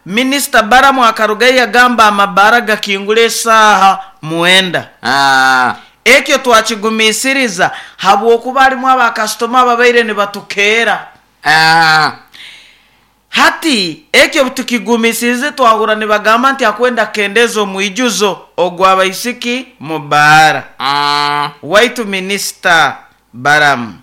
Minisita Balamu akarugayo yagamba amabaara gakingura esaaha 9. Ekyo twakigumiisiriza habwokuba harimu abakasitoma ababaire nibatukeera. Hati ekyo obutukigumiisirize twahurra nibagamba nti akwenda kukendeeza omwijuzo ogw'abaisiki mu baara. Waitu Minisita Balamu,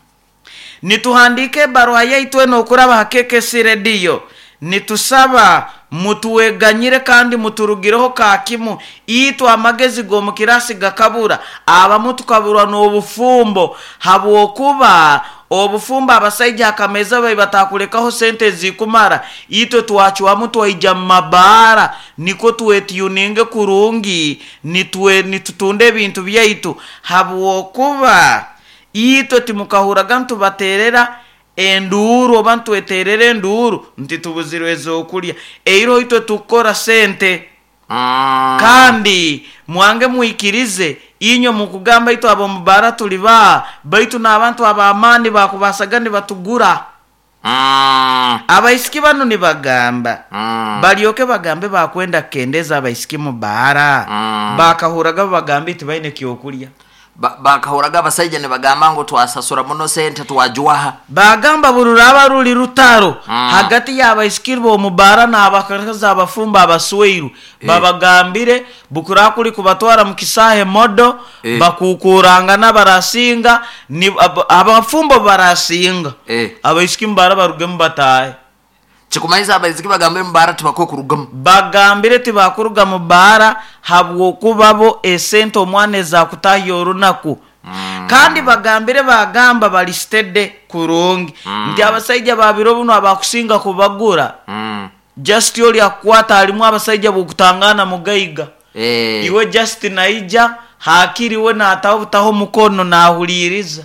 nituhandiika ebaruha yaitu enu okuraba ha KKC Radio nitusaba mutweganyire kandi muturugireho ka kimu itwe amagezi g'omu kiraasi gakabura, abamu tukaburwa n'obufumbo habwokuba obufumbo abasaija akameeza babi batakulekaho sente ezikumara, itwe twacwamu twaija mu mabaara nikwo twetyuninge kurungi nitwe nitutunda ebintu byaitu habwokuba itwe timukahurraga nitubateerera enduuru oba nitweteerera enduuru nti tubuzirwe ez'okulya. Eiroho itwe tukukora sente. Kandi mwange mwikirize, inywe mukugamba itwe ab'omu baara tuli baaha, baitu n'abantu ab'amaani baakubasaga nibatugura. Abaisiki banu nibagamba, balyoke bagambe baakwenda kukendeeza abaisiki mu baara, baakahurraga babagambire tibaine kyokulya. Bakahurraga abasaija nibagamba ngu twasasura muno sente twajwaha. Baagamba buri ruraaba ruri rutaro hagati y'abaisiki b'omu baara n'abakazi abafumbo abasweirwe, babagambire bukuraaba kuri kubatwara mu kisaahe modo, bakuukuurangana barasinga, abafumbo barasinga, abaisiki mu baara barugemu bataahe. Kikumanyisa abaisiki bagambire mu baara tibakwiye kurugamu. Bagambire tibakuruga mu baara habwokuba bo esente omwana ezakutahya orunaku. Kandi bagambire bagamba bali steady kurungi nti abasaija ba biro binu abakusinga kubagura just oli akukwata halimu abasaija bwokutangana mugaiga iwe just naija hakiri we nataho butaho omukono nahuliiriza.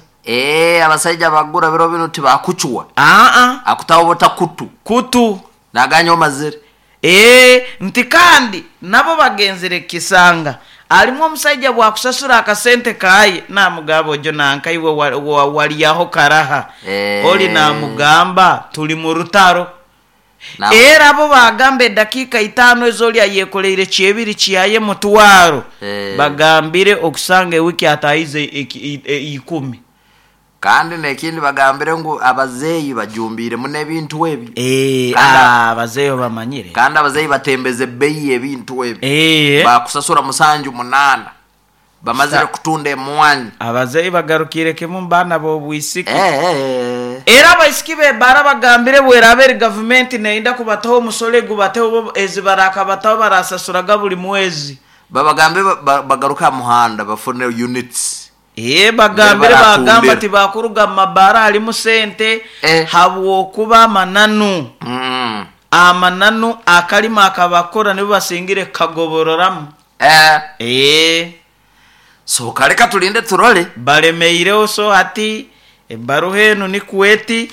Abasaija abagura biro binu tibakucwa. Aa. Akutaho buta kutu. Kutu. Naganya omazire. Nti kandi nabo bagenzire kukisanga halimu omusaija bwakusasura akasente kaye namugamba ojo nanka iwe walyaho karaha. Oli namugamba tuli mu rutaro. Era bo bagamba edakiika itaano ezi oli ayekoleire kyebiri kyaye mutwaro, bagambire okusanga ewiki ataahize ikumi. Kandi n'ekindi bagambire ngu abazeeyi bajumbiire muno ebintu ebyo. Abazeeyi obamanyire. Kandi abazeeyi batembeza ebbeyi y'ebintu ebyo. Bakusasura musanju munaana bamazire kutunda emwanyi. Abazeeyi bagarukiire kimu mu baana b'obwisiki. Era abaisiki b'ebaara bagambire bweraaba eri gavumenti neyenda kubataho omusoro egubateho bo ezi barakabataho barasasuraga buri mwezi. Babagambe bagaruke aha muhanda bafune units. Bagambire bagamba tibakuruga mu mabaara harimu sente habwokuba amananu amananu akarimo akabakora nibo basingire kukagobororamu. So kaleka tulinde turole. Balemeireho so hati ebaruha enu nikwo eti,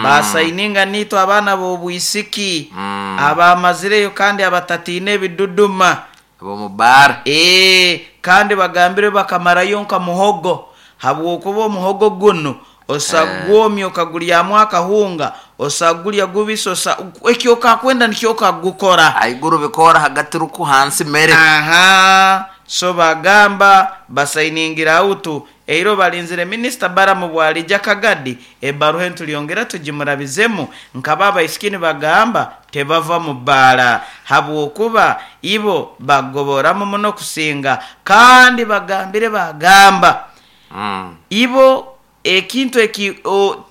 basayininga naitwe abaana b'obwisiki abamazireyo kandi abatatiina ebiduduma. Ab'omu baara. Kandi bagambire bakamarayo nka muhogo habwokuba omuhogo gunu osagwomya okaguryamu akahunga, osagurya gubisi, eki okakwenda nikyo okagukora. Haiguru bikoora hagati ruku hansi mere. Aha, so bagamba basayiningira autu eiro balinzire Minisita Balamu bwalija Kagadi ebaruha enu tulyongera tugimurabizemu nkaba abaisiki nibagamba tebava mu baara habwokuba ibo bagoboramu muno kusinga kandi bagambire bagamba ibo ekintu eki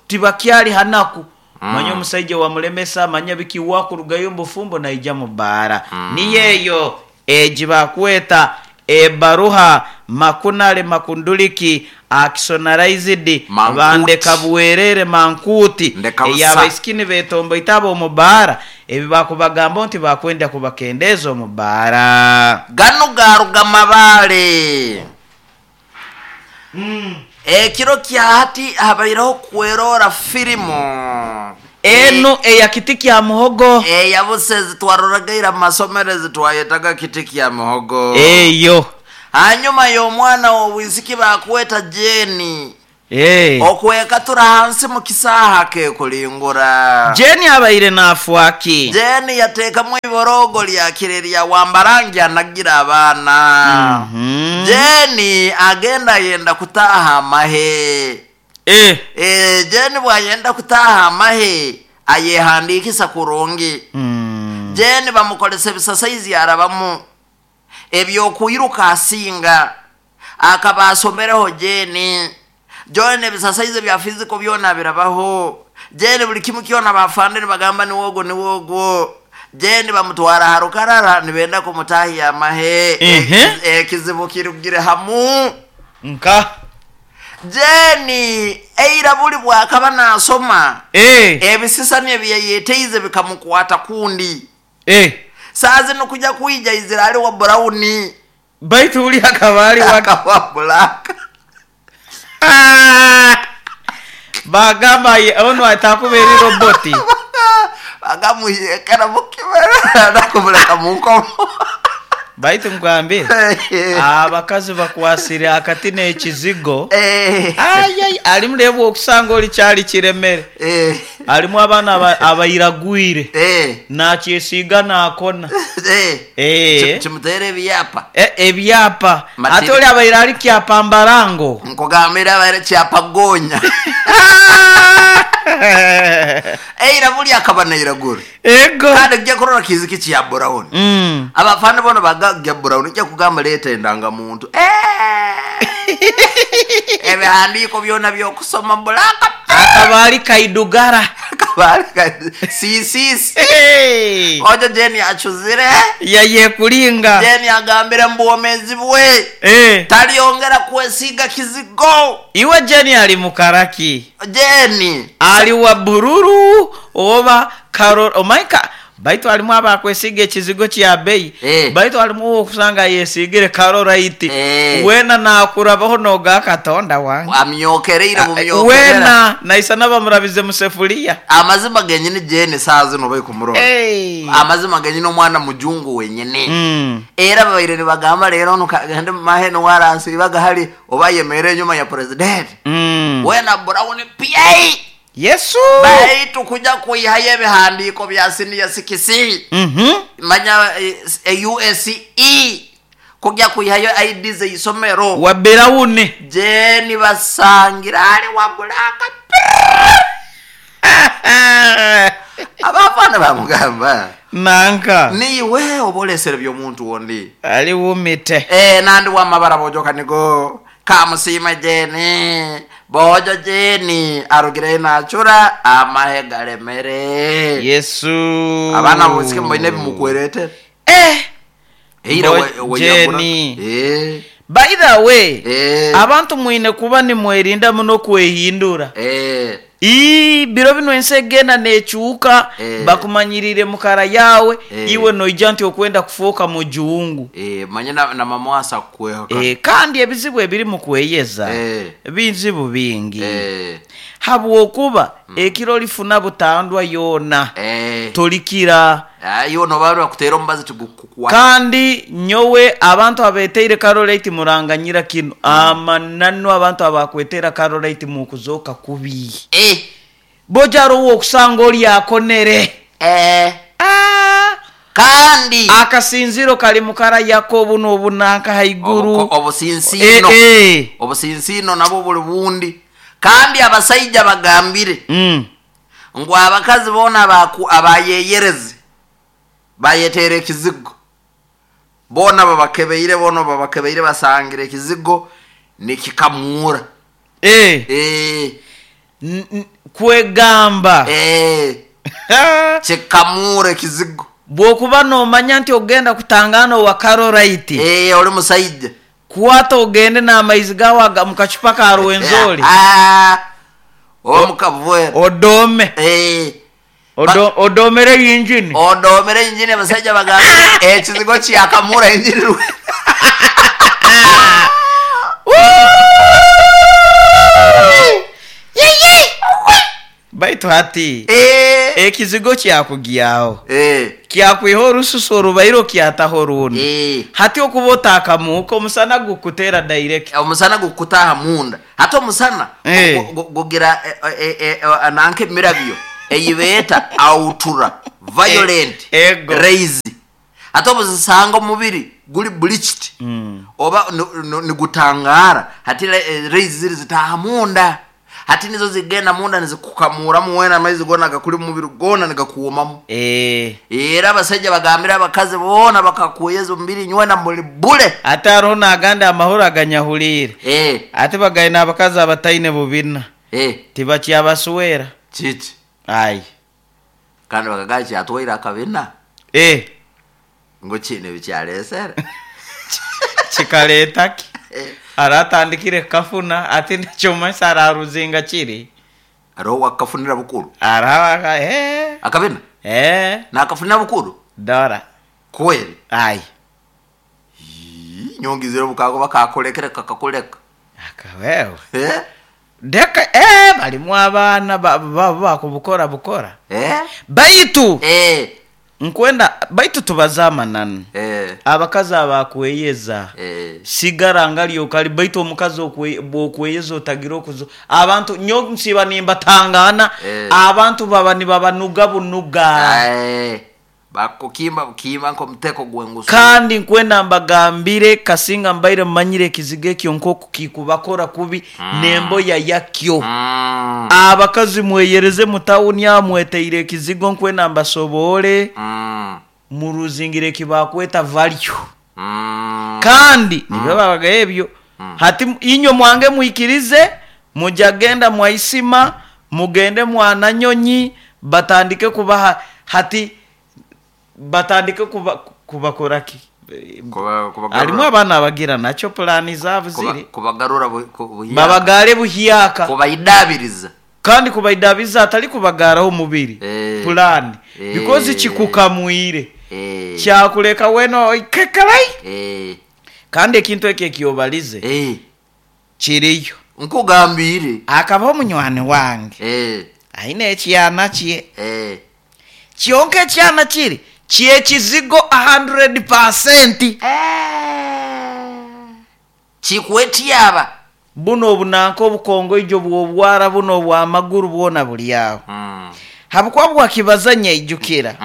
tibakyali hanaku manya omusaija wamulemesa manya biki wakurugayo omu bufumbo naija mu baara. Niyo eyo egi bakweta ebaruha makunale makunduliki akisonaraizidi bandeka bwerere mankuuti ey'abaisiki nibetomboita ab'omu baara ebi bakubagambaho nti bakwenda kubakendeeza omu baara. Ganu garuga Mabaale. Ekiro kya hati habaireho kwerora firimu. Enu eya Kiti kya Muhogo. Eya busa ezi twaroraga ira mu masomero ezi twayetaga Kiti kya Muhogo. Eyo. Hanyuma y'omwana w'obwisiki bakweta Jane. Eh. Okwekatura hansi mu kisaaha kekulingura. Jeni abaire nafwaki? Jeni yateekamu iborogo lya kire lya wambarangi anagira abaana. Jeni agenda ayenda kutaaha amahe. Eh. Eh, Jeni bwayenda kutaaha amahe ayehandiikisa kurungi. Jeni bamukolesa ebisasaizi arabamu ebyokwiruka asinga akaba asomereho Jeni. Jeni ebisasaizi bya fiziko byona birabaho. Jeni buli kimu kyona bafande nibagamba niwogwo niwogwo. Jeni bamutwara ha rukarara nibenda kumutahya amahe. Ekizibu kirugire hamu. Nka Jeni eira buli bwakaba nasoma ebisisani ebyeyeteize bikamukwata kundi. Saa zino kuja kuija izira ali wa brown. Baitu uli akaba ali wa akaba black. Bagamba ono atakuba eri roboti. Bagamuyekera mukibera nakumuleka munkomo. Baitu ngambe abakazi bakwasire akati n'ekizigo. Ayay alimu lebu okusanga oli kyali kiremere. Alimu abaana abayiragwire. Nakyesiiga nakona. Kimuteera ebyapa. Ebyapa. Ate oli abayira ali kyapa mbarango. Nkugambira abayira kyapa gonya. Eira buli akaba nairagura. Ego. Kandi kijja kurora kiziki kya brown. Abafana bono bagagya brown kijja kugamba leeta endangamuntu. Ebihandiiko byona byokusoma black. Akaba ali kaidugara. Akaba ali sisisi. Ojo Jeni achuzire. Yayekulinga. Jeni agambire mbuomezi bwe. Taliongera kwesiga kizigo. Iwe Jeni ali mukaraki. Jeni ali wa bururu oba karol omaika. Baitu alimu abakwesiga ekizigo kya bei. Baitu alimu okusanga yesigire karolaiti. Wena nakurabaho noga Katonda wange. Amyokereire mumyokerera. Wena naisa nabamurabize musefulia. Amazima genyini Jeni saa zino bai kumurora. Amazima genyini omwana mujungu wenyini. Era babaire nibagamba leero ono kagende mumahe niwaransi bagahali oba yemere enyuma ya president. Wena brown PA. Yesu. Baitu kuja kuihayo ebihandiiko bya siniya sikisi. Manya USE kujya kuihayo ID zeisomero. Wa berawune. Jeni basangira ali wa bulaka. Abafana bamugamba. Nanka. Niwe obolesere by'omuntu wondi. Ali wumite. Nandi wa mabara bojoka nigo. Kamusima Jeni. Bojo Jeni arugire nachura amahe galemere. Yesu. Abana bosike mboine bimukwerete. Eira we Jeni. By the way, abantu mwine kuba ni mwerinda muno kwehindura. Biro bino ensi egenda nekyuka, bakumanyirire mukara yawe, iwe noija nti okwenda kufuuka mujungu. Manye na mama wasa kweha. Kandi ebizibu ebiri mu kweyeza, bizibu bingi. Habwokuba ekiro lifuna butandwa yona, tolikira. Iyo no barwa kutera ombazi tugukukwa. Kandi nyowe abantu abeteire karolaiti muranganyira kino. Amananu abantu abakwetera karolaiti mu kuzoka kubi. Bojaro wo kusanga oli akonere. Kandi akasinziro kali mukara Yakobo n'obunanka haiguru. Obusinsino. Obusinsino nabo buli bundi. Kandi abasajja bagambire. Ngo abakazi bona abayeyereze. Bayetere ekizigo. Bona babakebeire, bona babakebeire basangire ekizigo nikikamura. Kwegamba. Kikamura ekizigo. Bwokuba nomanya nti ogenda kutangana wa karolaiti. Oli musajja. Kwata ogende n'amaizi gawe mu kacupa ka Rwenzori. Omukavwera. Odome. Odomere injini. Odomere injini abasajja bagamba ekizigo kyakamura injini. Baitu hati. Ekizigo kyakugyaho. Kyakwiha orususu orubaire kyataho orundi. Hati okuba otakamuuka, omusana gukuteera direct. Omusana gukutaaha munda. Hati omusana gugira nanka emirabyo ei beeta ultra violent rays. Hati obuzisanga omubiri guri bleached oba nigutangaara, hati rays ziri zitaaha munda. Hati nizo zigenda munda nizikukamuuramu weena amaizi goona agakuri omu mubiri goona nigakuumamu. Era abasaija bagambire abakazi boona bakakweyeza omubiri nywena muri bure. Hati haroho n'agandi amahuri aganyahuliire. Hati bagaine n'abakazi abataine bubina. Tibakyabaswera. Kiki? Aye. Kandi bakagamba kyatwaire akabina. Ngu kiine ebi kyareesere. Kikareeta ki? Aratandikire kukafuna ati nakyo araruzinga kiri. Hariho owakafunira bukuru. Hariho Akabina? Nakafunira bukuru? Dora. Kweli? Aye. Ii, nyongizire obukago bakakulekere kakakuleka. Akawewe. Deka balimu abaana bakubukora bukora. Baitu nkwenda baitu tubaze amananu. Abakazi abakweyeza sigara ngali okali baitu omukazi bwokweyeza otagira okuzo abantu nyo nsiba nimbatangana abantu baba nibabanuga bunuga. Bakukimba bukimba nk'omuteko gw'engusu. Kandi nkwenda mbagambire kasinga mbaire mumanyire ekizigo ekyo nk'oku kikubakora kubi n'emboya yakyo. Abakazi mweyereze mu tawuni aho mweteire ekizigo nkwenda mbasobole muruzingire ekibakweta value. Kandi nibyo babaga ebyo. Hati inywe mwange mwikirize mujagenda mwaisima mugende mwananyonyi batandike kubaha hati batandike kubakora ki? Harimu abaana abagira nakyo pulaani zaabo ziri. Kubagarura buhyaka. Babagare buhyaka. Kubaidabiriza. Kandi kubaidabiriza atari kubagaraho omubiri. Pulaani. Because kikukamwire. Kyakureka wena oikekerai. Kandi ekintu ekyo ekyobalize kiriyo. Nkugambire. Akabaho munywani wange. Aine ekyana kye. Kyonka ekyana kiri kyekizigo 100%. Kikwetyaba. Buno obunanka obukongoijo bw'obwara buno obw'amaguru bwona buli aho. Habwokuba bwakibaza nyaijukira.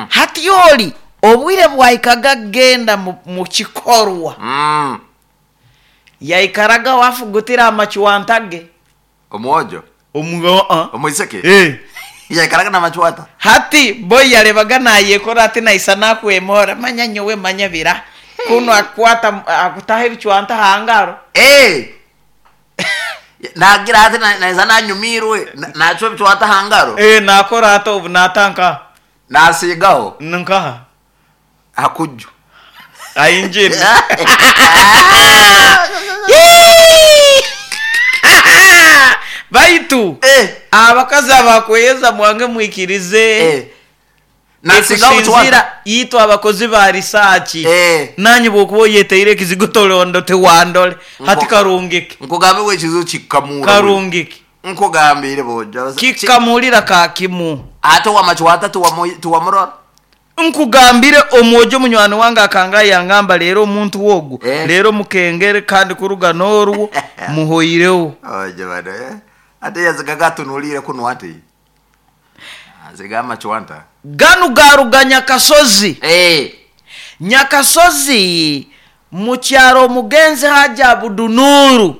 Hati oli obwire bwaikaga genda mu kikorwa. Yaikaraga wafugutira amachwanta ge. Omwojo? Omwiseke? Yaikaraga n'amachwanta. Hati boy yarebaga nayekora ati naisa nakwemora manya nyowe manya bira. Kuno akwata akutaha ebichwanta hangaro. Nagira ati naisa nanyumirwe nacho ebichwanta hangaro. Nakora ati obu natanka. Nasigaho. Nkaha. Hakuju. Ainjini. Baitu abakazi abakweyeza mwange mwikirize. Ekusinzira itwe abakozi ba risachi. Nanyi bwokuba oyeteire ekizigo tolondo tewandole. Hati karungike. Nkugambe we ekizigo kikamura. Karungike. Nkugambire bojo. Kikamulira kakimu. Ate wamachwata tuwamurora. Nkugambire omwojo munywani wange akanga yangamba leero omuntu wogu. Leero mukengere kandi kuruga n'orwo muhoireho. Oje bana. Ate yazigaga tunulire kuno ate. Aziga amachwanta. Ganu garuga Nyakasozi. Nyakasozi mukyaro omugenzi Haji Abudunuru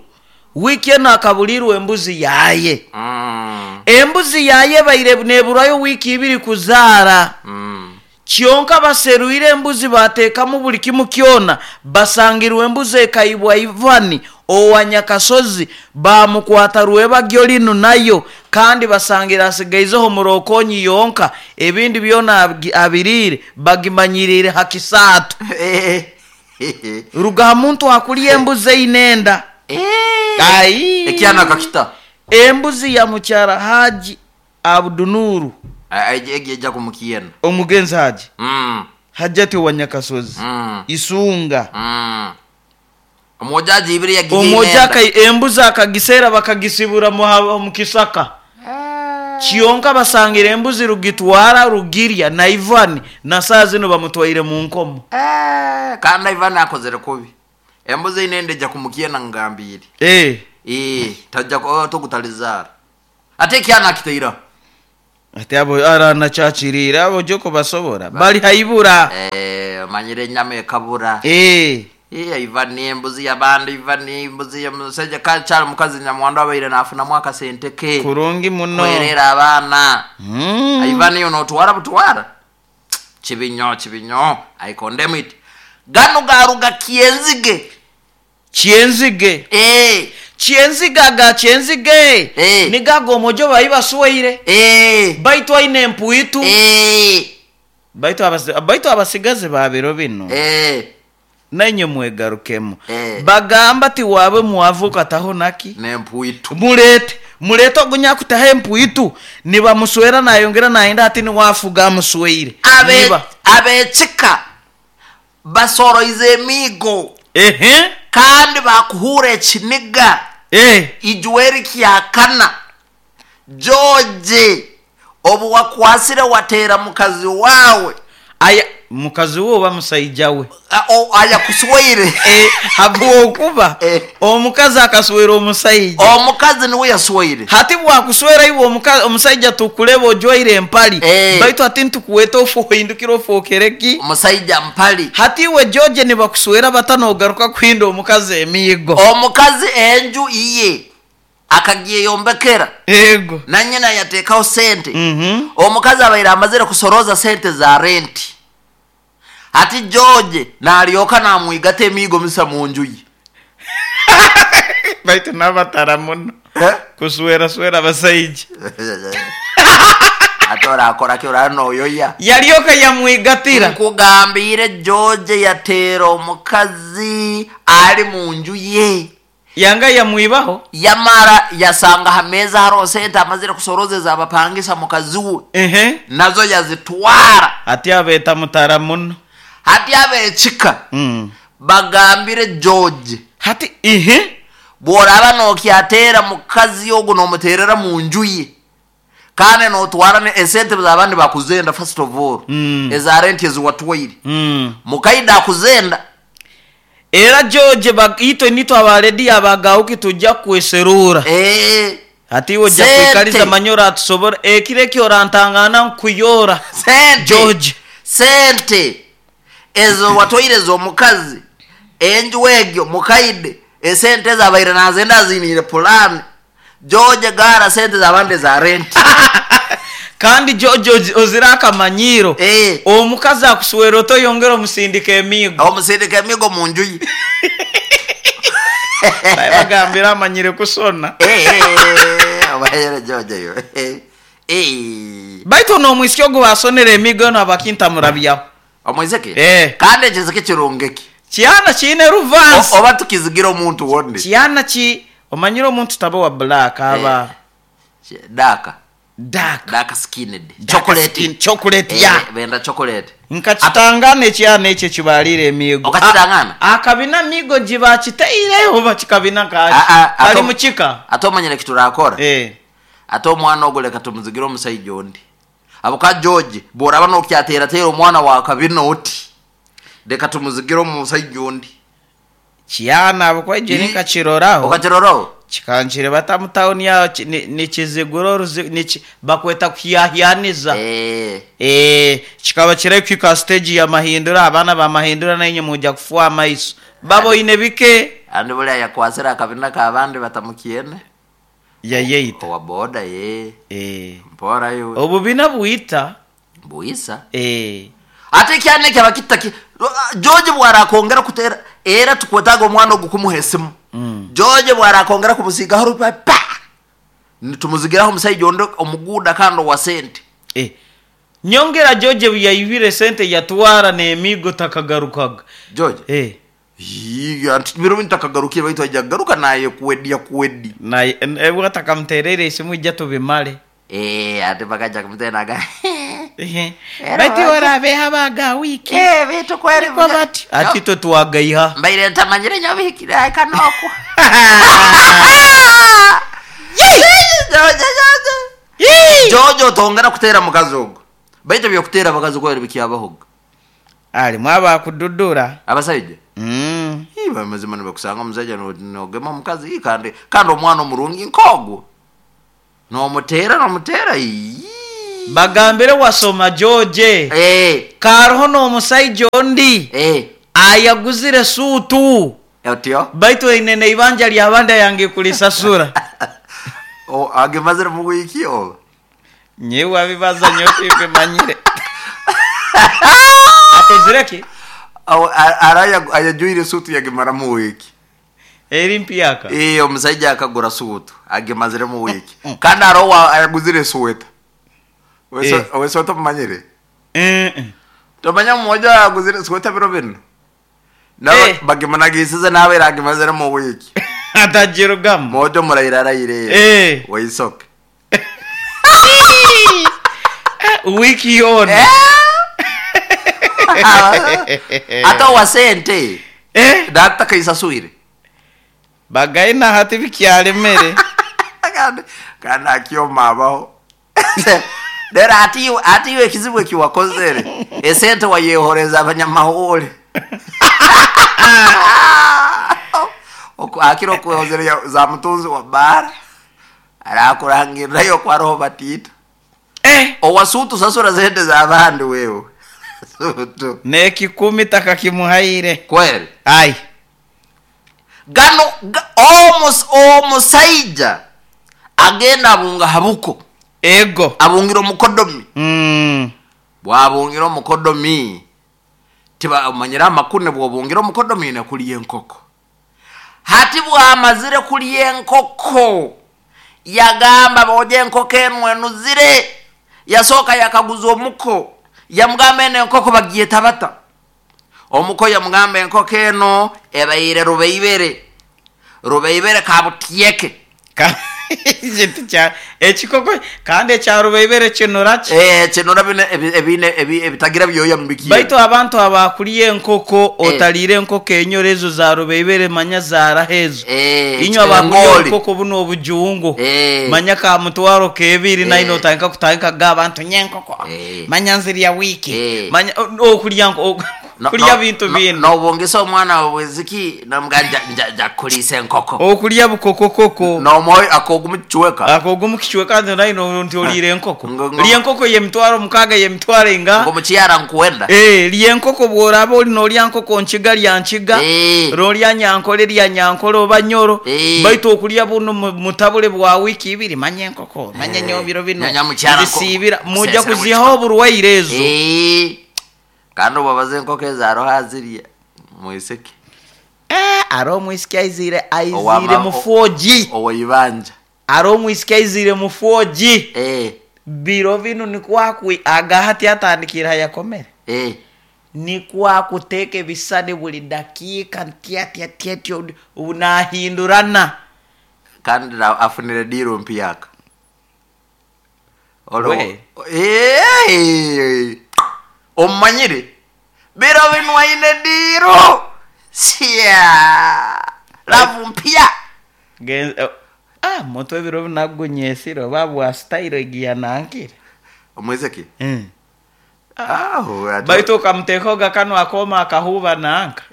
wiki eno akabulirwa embuzi yaye. Embuzi yaye baire neburayo wiki ibiri kuzaara. Kyonka baseruire embuzi bateekamu buli kimu kyona, basangirwe embuzi ekaibwa Ivani owa Nyakasozi bamukwata rwebagyo linu nayo kandi basangira asigaizeho murokonyi yonka ebindi byona abirire bagimanyirire hakisaatu. Ruga muntu akuliye embuzi einenda. Ai. Ekyana kakita. Embuzi ya mukyara Haji Abdunuru. Eja kumukiena. Omugenzi Haji. Hajati wa Nyakasozi. Isunga. Omoja ajibire yagiye. Omoja kai embuzi akagisera bakagisibura mu kisaka. Kyonka basangire embuzi rugitwara rugirya na Ivan na saa zino bamutwaire mu nkomo. Eh, kandi Ivan akozere kubi. Embuzi eine ende ejja kumukyena ngambiire. Eh. Eh, tajja togutalizaara. Ate ekyana akitaira. Ati abo aranakyakiriire abo joko basobora bali haibura. Eh, omanyire enyama ekabura. Eh. Eh, Ivan embuzi y'abandi, Ivan embuzi y'omusajja kakyali mukazi nyamwandu abaire nafunamu akasente ke. Kurungi muno. Kwerera abaana. Ivan yo notwara butwara. Kibinyo, kibinyo. I condemn it. Gano garuga kyenzige. Kyenzige. Eh. Kyenzige aga kyenzige. Eh. Nigago omojo bayi baswaire. Eh. Baitu aine empuitu. Eh. Baitu baitu abasigazi ba biro bino. Eh. Nainye mwegarukemu. Eh. Bagamba ti wawe mwavuka taho naki? Nempuitu. Mulete. Mulete ogunyakutaho empuitu. Nibamuswera nayongera nayenda ati niwafuga amusweire. Abekika basoroize emigo. Ehe. Kandi bakuhura ekiniga. Eh. Ijweri kyakana. George obu wakwasire watera mukazi wawe. Aya mukazi we oba musaija we. Aya kusweire. Eh, habwokuba omukazi akaswera omusaija. Omukazi niwe yasweire. Hati bwakuswera iwe omusaija tukuleba ojwaire empali. Baitu ati ntukuweta ofu ohindukira ofokereki. Omusaija mpali. Hati iwe George nibakuswera batanogaruka kuhinda omukazi emiigo. Omukazi enju iye akagiyombekera. Ego. Na nyina yateekaho sente. Omukazi abaire amazire kusoroza sente za renti. Ati George nalyoka namwigata emiigo misa mu nju ye. Baitu n'abatara muno. Eh? Kuswera swera abasaija. Ate orakora ki orara noyoya. Yalyoka yamwigatira. Nkugambire George yateera omukazi ali mu nju ye. Yanga yamwibaho. Yamara yasanga ha meza hariho sente amazire kusorozeza abapangisa mukazi we. Ehe. Nazo yazitwara. Ati abeeta mutara muno. Hati abekika bagambire George. Hati ihe bworaba nokyatera mukazi ogu nomuterera mu nju ye. Kandi notwara esente z'abandi bakuzenda first of all. Eza rent eziwatwaire. Mukaida akuzenda. Era George itwe nitwe abaredi abagauki tujja kweserura. Eh. Ati iwe ojja kwikaliza manyora atusobora ekire ekyo orantangana nkuyora. Sente. George. Sente. Ezo watwaire z'omukazi. Enju egyo mukaide esente zabaire nazenda zinire plan. George gara sente z'abandi za rent. Kandi George ozira akamanyiro. Eh. Omukazi akuswera otoyongera omusindika emigo. Omusindika emigo mu nju ye. Bagambira amanyire kusona. Eh, obayere George yo. Eh. Baitu n'omwisiki ogu basonera emigo n'abakinta murabyaho. Omwiziki? Eh. Kandi ekiziki kirungiki. Kyana kiine ruvansi. Oba tukizigira omuntu wonde. Kyana ki omanyire omuntu taba wa black aba Dark. Dark. Dark skinned. Dark Chocolate. skin, chocolate, Eh, ya. Benda chocolate. Nkakitangana ekyana ekyo kibalire emigo. Okakitangana? Akabina migo gibakiteire oba kikabina kaki. Kali mukika. Ate omanyire kiturakora. Eh. Ate omwana ogwo leka tumuzigire omusajja ondi. Abuka George bworaba nokyatera omwana wa kabina oti. Leka tumuzigire omusajja ondi. Kyana abukwaje nikakiroraho. Okakiroraho? Kikankire bata mu town yaho nikizigura bakweta kuhyahyaniza. Eh. Eh, kikaba kire kwika stage ya mahindura abana ba mahindura nainye mujja kufuwa amaiso. Babo ine bike. Andi buli yakwasira akabina kabandi batamukiene. Yayeita. Owa boda ye. Eh. Mpora yo. Obubina buita. Buisa. Eh. Ate kyane kyabakita ki George bwarakongera kutera era tukwetaga omwana ogukumuha esimu. George bwarakongera kumusiga harupa pa. Nitumuzigiraho omusajja ondo omuguda kandi wa sente. Eh. Nyongera George yaibire sente yatwara n'emigo takagarukaga. George. Eh. Yiga biro ntakagarukiye baitu ajja garuka naye kuwedia kuwedi. Naye watakamterere isimu ijja tubimale. Eh, ate bakaja kumtenaga. Ehe. Bati orabeha baga wiki. Eh, bitu kweri bati. Ati twe twagaiha. Mbaire ntamanyire nyobihikira kanoko. Jojo otongera kuteera mukazi ogwo, baitu ebyokuteera abakazi kweri bikyabahoga. Alimu abakududura. Abasaija. Ii, mazima nibakusanga omusaija nogema omukazi. Ii, kandi omwana omurungi nk'ogwo nomuteera nomuteera. Ii. Bagambire wasoma George. Karoho n'omusaija ondi ayaguzire suutu. Otyo. Baitu aine n'eibanja ly'abandi ayange kulisasura. Agimazire mu wiiki oba? Nyewe abibaza nyowe timbimanyire. Akozire ki? Ara ayajwire suutu yagimara mu wiiki. Eri mpyaka. Omusaija akagura suutu agimazire mu wiiki. Kandi aroho ayaguzire sweta. Owe sweta omumanyire? Tomanya mmoja aguzire sweta biro binu? Bagimunagisize nabaire agimazire mu wiiki. Atagirugamu. Mwojo muraire araire. Waisoke. Wiki yoona. Ate owa sente natakaisaswire. Bagaina hati bikyalemere. Kandi akyoma abaho. Rero ati iwe ekizibu ekiwakozere esente wayehoreza abanyamahuri. Akira okwehozere za mutunzi wa bara arakurangirirayo kwaroho batita. Owasutu sasura sente z'abandi wewe. Sutu. N'ekikumi takakimuhaire. Kweli. Ai. Gano omusaija agenda abunga habuko. Ego. Abungira omukodomi. Bwabungira omukodomi tiba omanyira amakune bwobungira omukodomi na kulya enkoko. Hati bwamazire kulya enkoko yagamba boje enkoko enu enuzire. Yasoka yakaguza omuko yamugamba eno enkoko bagiyeta bata. Omuko yamugamba enkoko eno ebaire rubeibere. Rubeibere kabutieke. Ekikoko kandi ekya rubeibere kinura ki? Kinura bine ebitagira byoya mubikiye. Baitu abantu abakulya enkoko otaliire enkoko enyoro ezo za rubeibere manya zarahezo. Inywe abakulya enkoko buno obujungu. Manya ka mutwaro kebiri naino otandika kutandika ga abantu nyenkoko. Manya nzirya wiki. Manya okulya kulya bintu bino. Nobongesa omwana weziki namuganja nja kulisa enkoko. Okulya bukokokoko. Nomoyo akogumu kichweka. Akogumu kichweka naino nti olire enkoko. Lya enkoko ye mutwaro mukaga ye mutwaro inga. Ngo muchiara nkuenda. Lya enkoko bworaba oli nolya nkoko nkiga lya nkiga. Rolya nyankole lya nyankole oba nyoro. Baitu okulya buno mutabule bwa wiki ibiri manya enkoko. Manya nyobiro bino. Zisibira mujja kuzihaho oburwaire ezo. Kandi obabaze enkoko ezaroho azirya mwiseke. Aro mwisike aizire mu 4G. Owaibanja. Aro mwisike aizire mu 4G. Biro bino nikwakwi agahati atandikira yakomere. Nikwakuteka ebisane buli dakika tia tia tia unahindurana. Kandi afunire diro mpyaka. Olo. Omanyire. Biro bino aine diro. Sia. Lavu mpya. Moto ebiro binagunyesire babwa style egiya nankire. Omwezeki? Baitu okamtekoga kano akoma akahuba nanka.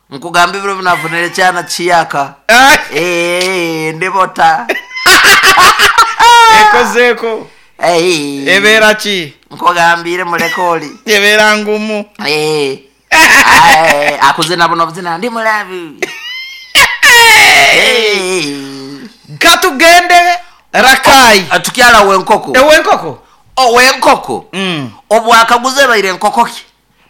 Nkugamba ebiro binafunire kyana kiyaka. Ndibota. Ekozeko. Ebera ki? Nkugambire mulekoli. Ebera ngumu. Akuze nabo nobuzina ndi mulabi. Katugende Rakai. Tukyala wenkoko. Wenkoko. Owenkoko. Obwakaguze baire enkoko ki?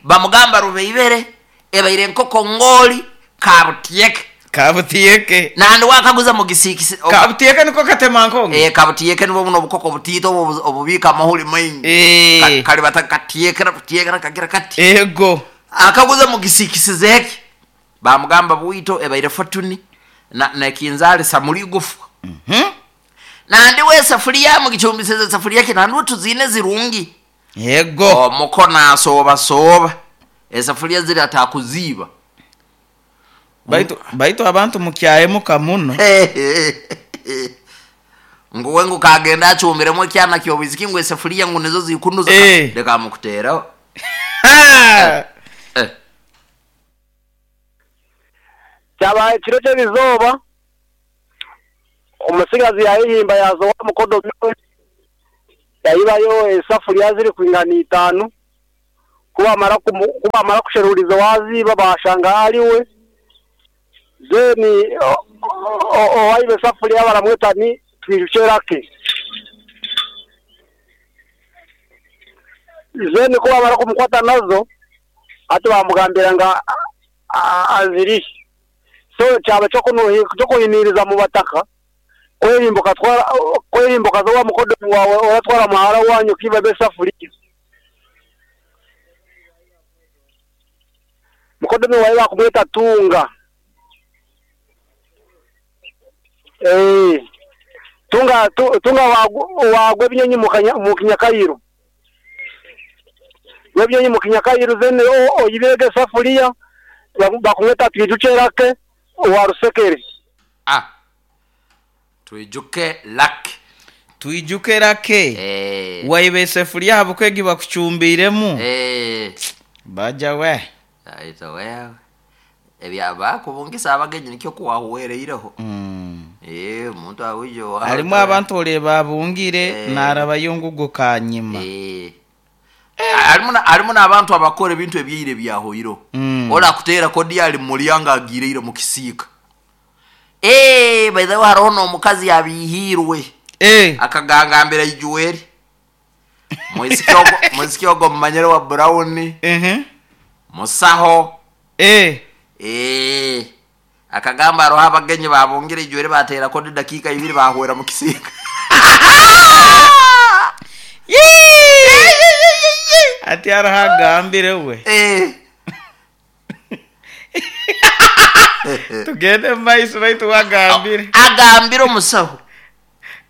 Bamugamba rubeibere ebaire enkoko ngoli kabutieke. Kabutieke. Nandi wakaguza mugisikisi. Kabutieke niko katema nkongo. Kabutieke nibo buno obukoko butito obubika amahuri maingi. Kali batakatiekera butiekera kagira kati. Ego. Akaguza mugisikisi zeki. Bamugamba bwito ebaire fortune na kinzali samuli gufu. Nandi we safuria mugichumbiseze safuria kinandu tuzine zirungi. Yego. Omukona soba soba. Esafuria ziri atakuziba. Baitu abantu mukyahemuka muno. Ngu we ngu kagenda acumbiremu ekyana ky'obwisiki ngu esefuriya ngu nizo zikunuza. Leka amukuteraho. Kyabaho ekiro ky'erizooba, omutsigazi yaayehimba yaaza owa mukodomi we, yaibayo esafuriya zirikwingana itaano. Ku bamara kusheruriza owaaziiba baashanga ariwe, then owaiba esafuriya baramweta ni Twijukye Lucky. Then ku bamara kumukwata nazo, hati bamugambira ngu azirihe. So kyaba ky'okuhiniiriza mu bataka, kwehimba okatwara kwehimba okaza owa mukodomi waawe oratwara muhara wanyu okaibamu esafuriya. Mukodomi waawe bakumweta Tunga. Tunga Tunga waagwa ebinyonyi mu Kinyakairo. Gwa ebinyoonyi mu Kinyakairo then oibirege esafuriya bakumweta Twijukye Lucky owa Rusekere. Ah. Twijuke Lucky. Twijuke Lucky. Waiba esefuriya ahabw'okuba egi bakucumbiiremu. Baja we. Aita wewe. Ebya bakubungisa abagenyi nikyo kuwahuwereireho. Omuntu awije owawe. Harimu abantu oreeba abungire naarabayo ngu ogu kanyima. Harimu n'abantu abakora ebintu ebyaire ebyahoireho. Ori akuteera kodi ari mu muryango agiireire mu kisiika. By the way hariho n'omukazi abiihiirwe. Akagangambira Ijuweri. Mwisiki ogwo, mwisiki ogwo mumanyire wa Brown. Musaho. Akagamba hariho abagenyi babungire Ijuweri bateera kodi dakiika ibiri bahwera mu kisiika. Ati hariho agambire we. Tugende mu maiso baitu we agambire. Agambire omusaho.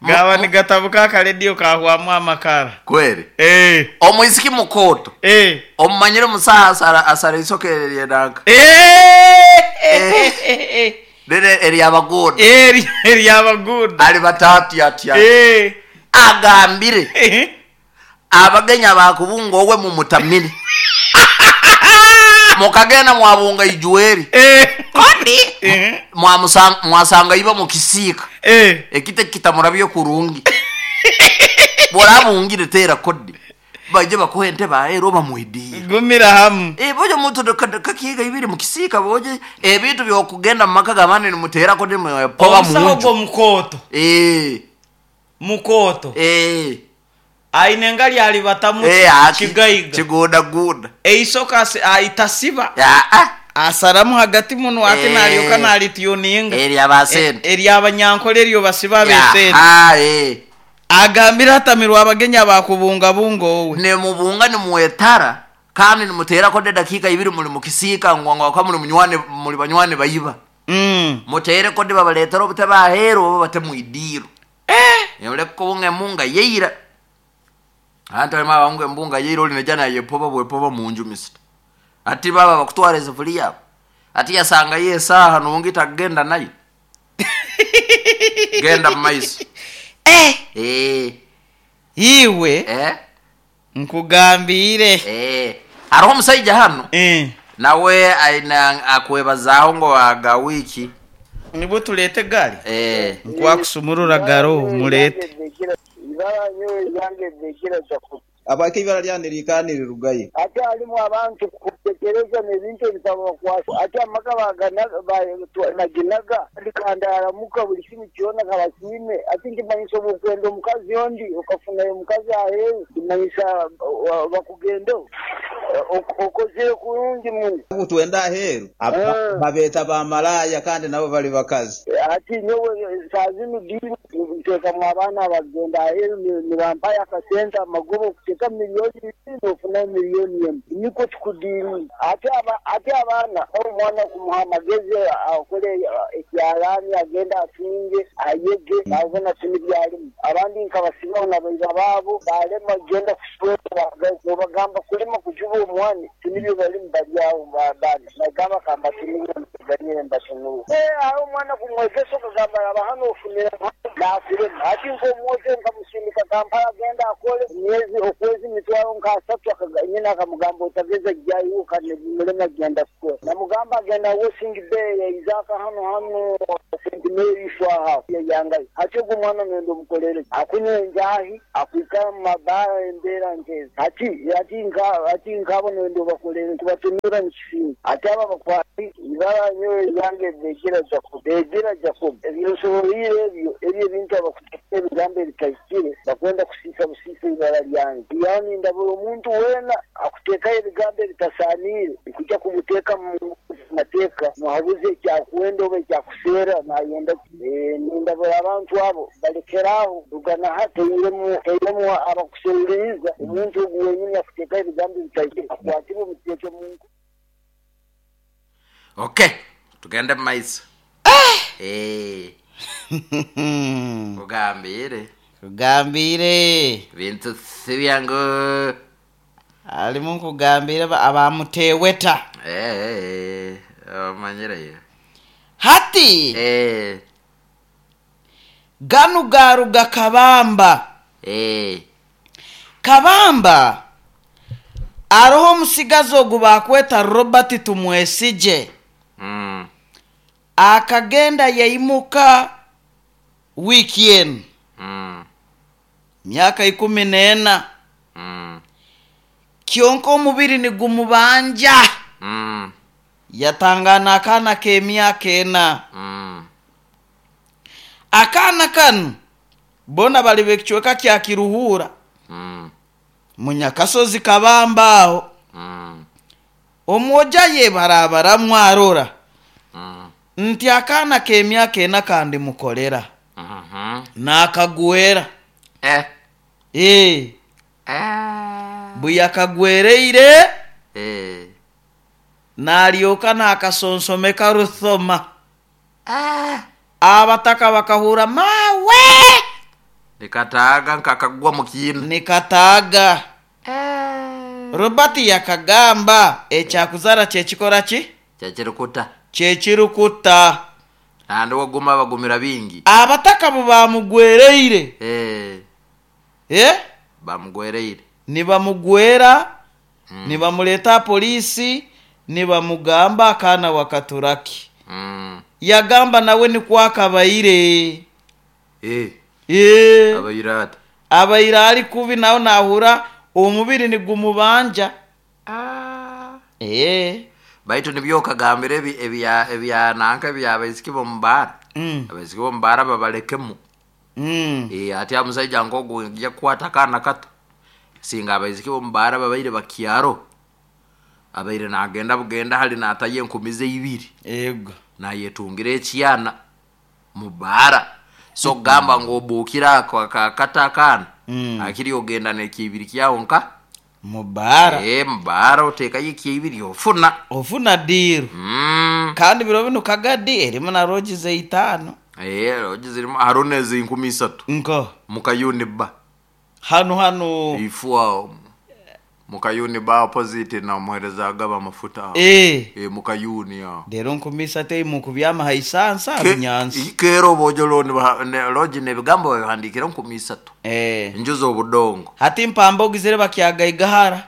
Gaba nigatabuka akarediyo kahwamu amakara. Kweri. Omwisiki mukooto. Omumanyire omusaho asara asara eisoke eryenanka. Riri ery'abaguuda. Ery'abaguuda. Ali batatu atya. Agambire. Abagenyi abakubunga owe mumutamire. Mukagenda mwabunga Ijuweri. Kodi mwasanga iba mukisiika. Ekite kitamurabye kurungi. Bworabungire teera kodi. Baije bakuhe entebe aheeru oba mwediire. Gumira hamu. Boje omuntu kakiiga ibiri mukisiika boje ebintu by'okugenda mu maka g'abandi nimuteera kodi mwepoba Omusaho munju. ogwo mukooto. Mukooto. Aine engali alibatamu kigaiga. Kiguudaguuda. Eisoke aitasiba. Asaramu hagati muno ati nalyoka nalityuninga. Ery'abasente. Ery'abanyankole eryo basiba ab'esente. Agambire atamirwe abagenyi abakubungabunga owe. Nimubunga nimwetara kandi nimuteerako edakiika ibiri muri mukisiika ngu ngu muri munywani muri banywani baiba. Muteereko de babaleetera obutebe aheeru oba bate mwidiiro. Oleke kubunga embunga yeira. Anti harimu ababunga embunga yeira ori naija nayepoba bwepoba munju misita. Ati baba bakutwara esefuriya abo. Ati yasangayo esaaha nungi takugenda nayo. Genda mumaiso. Iwe nkugambiire. Hariho omusaija hanu nawe aine akwebazaaho ngu aga wiiki. Nibwo tuleete egaari? Nkwakusumurura garo muleete. Ibara nyowe eryange Ndekera Jacob. Habwaki ibara lyange niriikara nirirugayo? Ati harimu abantu kutekereza n'ebintu ebitabakwasa. Ati amaka naginaga kandi aramuka buli kimu kyona kabasiime. Ati nkimanyisa obwokwenda omukazi ondi okafunayo omukazi aheeru kimanyisa bakugendeho. Okozire kurungi muno. Obu twenda aheeru babeeta bamalaaya kandi nabo bali bakazi. Ati nyowe saa zinu diiru nteekamu abaana abagenda aheeru nibampayo akasente amagoba okuteekamu miliyoni ibiri nofunayo miliyoni emu. Nikwo tukudiiringa. Ati abaana omwana kumuha amagezi akole ekyalaani agende atunge ayege nabona tini byarimu. Abandi nkabasibaho na baiba baabo barema kugenda kuswera nobagamba kulima kujuba omwani tinibyo barimu bari aho nagamba kamba tinibyo. Mbaganyire mbatunure. Aho omwana kumwegesa okagamba raba hanu ofunire nakurema. Hati nk'omwojo nkamusindika Kampala agenda akole emyezi okwezi mitwaro nka asatu, nyina akamugamba otageza jyayo kandi mulema genda kukora. Namugamba agenda Washing Bay yaizaka hano hano St Mary Shwaha yangayo. Hati ogwo omwana nenda omukolere akunywa enjahi, akwikara mu mabaara embeera nkezi. Hati nkabo nenda obakolere kubatunura nikisinga. Hati aba bakwati ibara nyowe yange begira Jacob, begira Jacob ebinsoboire ebyo ebyo ebintu abakuteeka ebigambo ebitahikire bakwenda kusiisa busiisa ibara lyange. Yani ndabura omuntu weena akuteekayo ebigambo ebitasaaniire nikujja kumuteeka mu mateeka muhabuze ekyakwenda oba ekyakuseera nayenda. Nindabura abantu abo balekeraho rugana teiremu abakuseereriza omuntu ogu wenyini akuteekayo ebigambo ebitahikire akwatibwe omuteeke mungu. Okay, tugende mu maiso. Kugambire. Kugambire. Bintu si byangu. Alimu nkugambire abamuteweta. Omanyireyo. Hati. Ganu garuga Kabamba. Kabamba aroho omusigazi ogu bakweta Robert Tumwesije. Akagenda yaimuka weekend. Myaka 14. Kyonka omubiri nigumubanja. Yatangana akana k'emyaka 4. Akana kanu bona bali bekichweka kya Kiruhura. Munyakasozi Kabamba aho. Omwoja ye barabara mwarora. Nti akana k'emyaka 4 kandi mukolera. Nakagwera. Buyakagwereire. Nalyoka nakasonsomeka ruthoma. Abataka bakahura mawe. Nikataaga nkakagwa mukina. Nikataaga. Robert yakagamba ekyakuzara kyekikora ki? Kyekirukuta. Kyekirukuta. Andi waguma bagumira bingi. Abataka bo bamugwereire. Bamugwereire. Nibamugwera, nibamuleta polisi, nibamugamba akana wakaturaki. Yagamba nawe nikwakabaire. Abaira ati. Abaira ari kubi nawe nahura omubiri nigumubanja. Baitu nibyo kagambire ebya nanka ebya abaisiki bomubaara. Abaisiki bomubaara babalekemu. Ati amusaija nkogu nja kukwata kana kato. Singa abaisiki bomubaara babaire bakyaro. Abaire nagenda bugenda hali nataye enkumize 2. Ego. Nayetungire ekyana mubaara. So gamba ngo obukira akata akana. Akiri ogenda nekibiri kyawo nka mubaara. Mubaara otekayo ekibiri ofuna. Ofuna diru. Kandi biro bino kagadi erimu na roji ze 5. Roji zirimu harune ze 3,000. Nko mukayuni ba. Hano hano ifua mukayuni ba opposite na muhereza agaba mafuta. Mukayuni ya. Dero 3,000 mukubyama haisansa binyansi. Kero bojolo ne roji ne bigambo bihandikira 3,000. Njuzo obudongo. Hati mpamba ogizire bakyaga igahara.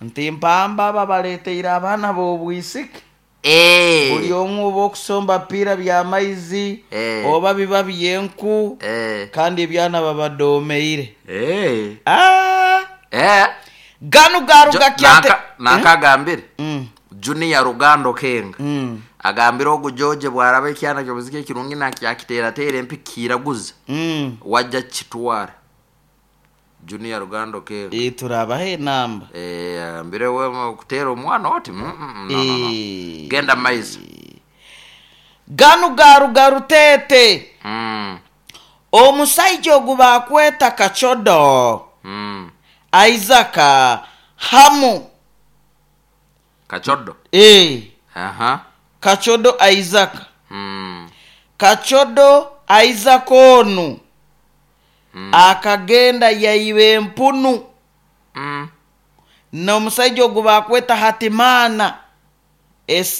Nti mpamba babaleteira abana b'obwisiki. Buli omwe oba okusomba pira bya maizi oba biba byenku kandi ebyana babadomeire. Ganu garuga kyate nakagambire. Junior Rugando Kenga. Agambire ogu George bwaraba ekyana kyobuzike ekirungi nakyakitera tere empikiraguza. Wajja kitwara. Junior Rugando Kenga. Turabahe namba. Ambire we kutera omwana oti. No. Genda maizi. Ganu garuga rutete. Omusaija ogu bakweta Kachodo. Isaac Hamu. Kachodo. Kachodo Isaac. Kachodo Isaac onu. Akagenda yaibe empunu. N'omusajja ogu bakweta Hatimana.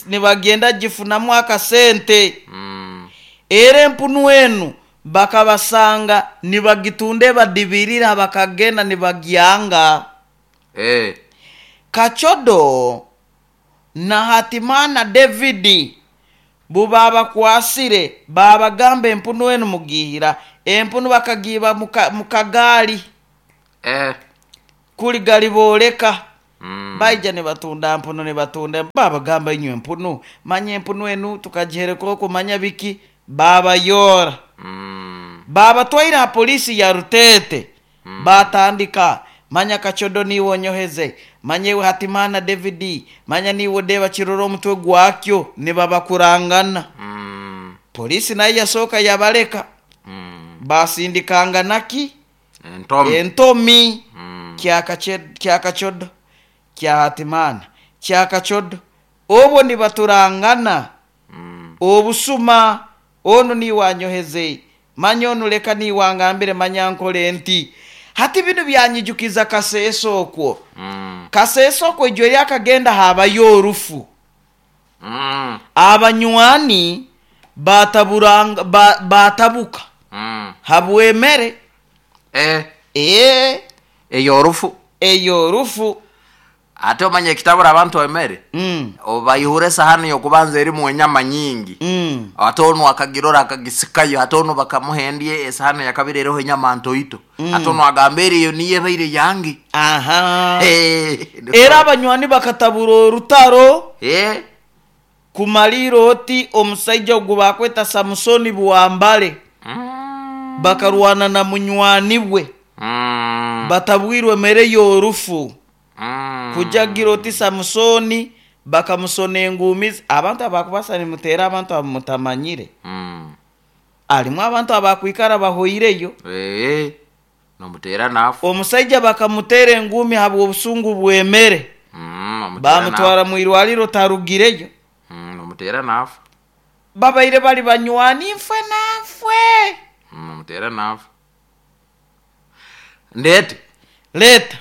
Nibagenda gifunamu akasente. Era empunu enu bakabasanga nibagitunda ebadibirira, bakagenda nibagyanga. Kacodo na Hatimana David bubabakwasire, babagamba empunu enu mugihira. Empunu bakagiba mukagaali. Kuli galibooleka. Baija nibatunda mpunu, nibatunda. Babagamba inywe empunu, manya empunu enu tukagihereka okumanya biki, babayora. Babatwaire ha polisi ya Rutete. Batandika, manya Kacodo niiwe onyoheze, manya iwe Hatimana David, manya niiwe odeba kirora omutwe gwakyo, nibabakurangana. Polisi nayo yasooka yabaleka. Basindikangana ki? Entomi. Entomi. Kya Kacodo, kya Hatimana, kya Kacodo. Obwo nibaturangana. Obusuma, onu niiwe anyoheze, manya onu leka niiwe angambire, manya nkole nti. Hati binu byanyijukiza Kaseesa okwo. Kaseesa okwo ijwe lyakagenda habayo orufu. Abanywani batabuka. Habwemere. Eyorufu. Eyorufu. Ate omanye ekitabura abantu emere. Obaihura esahani yokubanza erimu enyama nyingi. Ate onu akagirora akagisikayo, ate onu bakamuhendie esahani ya kabiri eriho enyama ntoito. Ate onu agamba eriyo niyo ebaire yange. Era abanywani bakatabura orutaro. Kumalira oti omusaija ogu bakweta Samusoni Bwambale. Bakarwana na munywani bwe. Batabwirwe mere y'orufu. Kujagira oti Samusoni bakamusona engumizi. Abantu abakubasa nimutera abantu abamutamanyire. Alimu abantu abakwikara bahoireyo. Nomutera nafu. Omusaija bakamutera engumi habw'obusungu bwemere. Bamutwara mu irwaliro tarugireyo. Nomutera nafu. Babaire bali banywani nfwe na nfwe. Nomutera nafu. Ndete. Leta.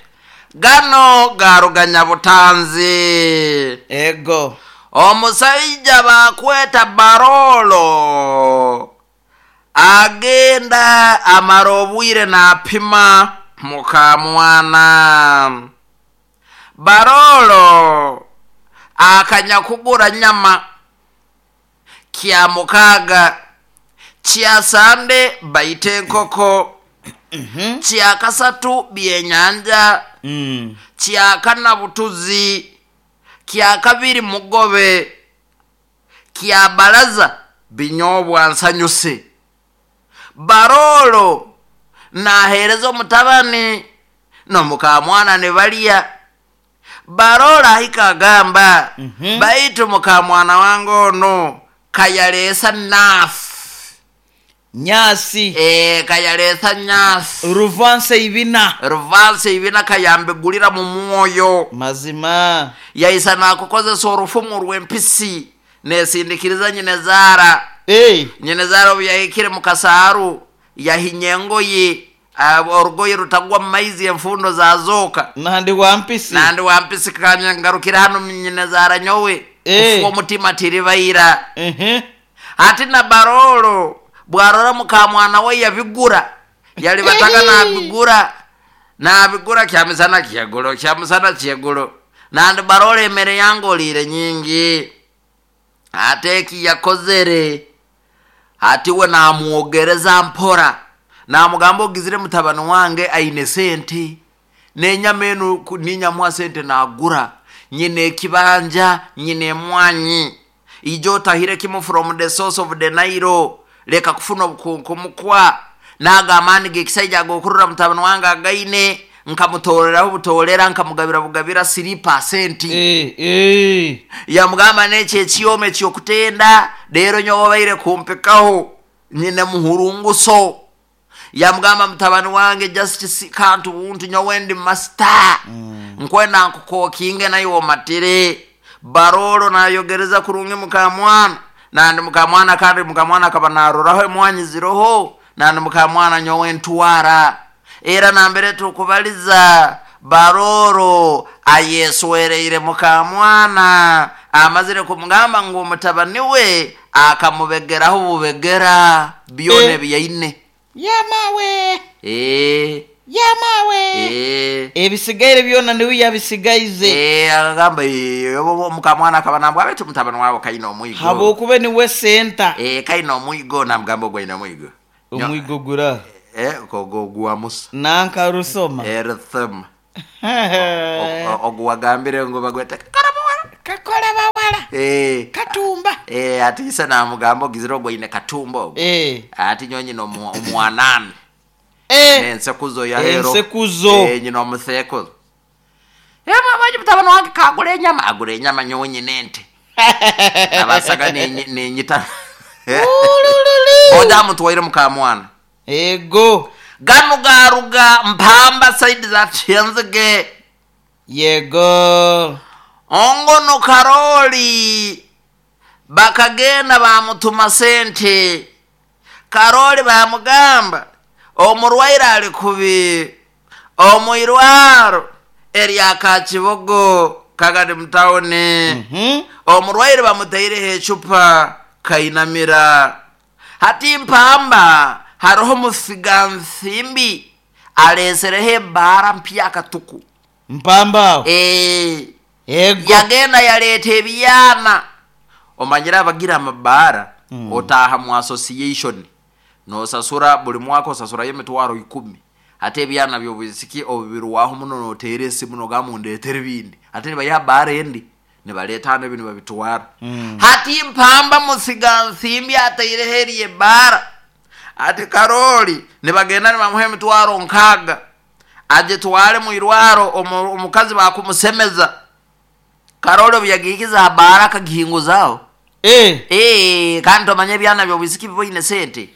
Gano garuganya butanzi. Ego. Omusaija bakweta Barolo agenda amara obwire napima mukamwana. Barolo akanya kugura nyama kya mukaga, kya sande baite enkoko, kya kasatu byenyanja, kya kana butuzi, kya kabiri mugobe, kya baraza binyobwa nsanyuse. Barolo nahereza omutabani nomukamwana ne balya. Barolo ahika agamba, baitu mukamwana wange ono kayalesa nafu. Nyasi. Kayalesa nyasi. Ruvanse ibina. Ruvanse ibina kayambegulira mu mwoyo. Mazima. Yaisa nakukozesa orufumu rw'empisi nesindikiriza nyine zara. Nyine zara obu yahikire mu kasaaru yahinya engoye, orugoye rutagwa mu maizi enfundo zazoka. Nandi wa mpisi. Nandi wa mpisi kanya ngarukira hano nyine zara nyowe. Kufuwa omutima tiribaira. Ati na Barolo bwarora mukamwana we yabigura. Yali bataka nabigura. Nabigura kyamisana kyegulo, kyamisana kyegulo. Nandi Barolo emere yangolire nyingi. Ate eki yakozere. Ati we namuogereza mpora. Namugamba ogizire mutabani wange aine sente. Nenyama enu ninyamwa sente nagura. Nyine ekibanja, nyine emwanyi. Ijo otahire kimu from the source of the Nile. Leka kufuna obukunkumukwa. Naga amaani g'ekisaija agokurura mutabani wange againe. Nkamutoreraho butorera, nkamugabira bugabira 3%. Yamugamba n'ekyo ekyoma eky'okutenda, leero nyowe obaire kumpikaho, nyine muhurunguso. Yamugamba mutabani wange just si kantu buntu nyowe ndi master. Nkwenda nkukokinge naye omatire. Barolo nayogereza kurungi mukamwana. Nandi mukamwana kandi mukamwana akaba naroraho emwanyi ziroho. Nandi mukamwana nyowe ntwara. Era nambere tukubaliza Barolo ayeswereire mukamwana Amazire kumugamba ngu omutabani we akamubegeraho bubegera byona ebyaine. Yamawe! Eh, Yamawe! eh. Ebisigaire byona niwe yabisigaize. Eh, akagamba "Eh, omukamwana akaba nambwa baitu mutabani wawe kaine omwigo." Habwokuba niwe senta. Eh, kaine omwigo, namugamba ogwo aine omwigo. Omwigo gura. Eh, ogwo gwa Musa. Nanka rusoma. Erthema. Ogwo wagambire ngu bagwete karabawala. Kakola bawala. Eh. Katumba. Eh, ati isa namugamba ogizire ogwo aine katumba ogwo. Eh. Ati nyonyi omwanani. Eh. Nensekuzo ya hero. Ensekuzo. Eh, nyina omusekuzo. Eh, mama mutabani wange kagula enyama, agula enyama nyowe nente. Abasaga nenyita. Ulululu. Oja mutwaire mukamwana. Ego. Gano garuga Mpamba side za Kyenzige. Yego. Ongono Karoli bakagenda bamutuma sente. Karoli bamugamba omurwaire ali kubi omwirwaro erya Kakibogo kagadi mutawuni. Omurwaire bamutaireho ecupa kainamira. Hati Mpamba hariho musigansimbi alesereho ebara mpya katuku. Mpamba aho. Eh. Ego. Yagenda yaleeta ebyana. Omanyire abagira amabaara otaaha mu association nosasura buli mwaka osasurayo emitwaro 10. Ate ebyana byobwisiki obubirwaho muno noteera esimu nogamba ndeetera ebindi. Ate nibayiha baara endi nibaleeta hano ebi nibabitwara. Hati Mpamba musigansimbi ataireho eri ebaara. Ati Karoli nibagenda nibamuha emitwaro 6 agitware mu irwaro omukazi bakumusemeza. Karoli obu yagihikiza abaara akagihinguzaho. Eh. Eh, kandi tomanya ebyana byobwisiki biboine sente.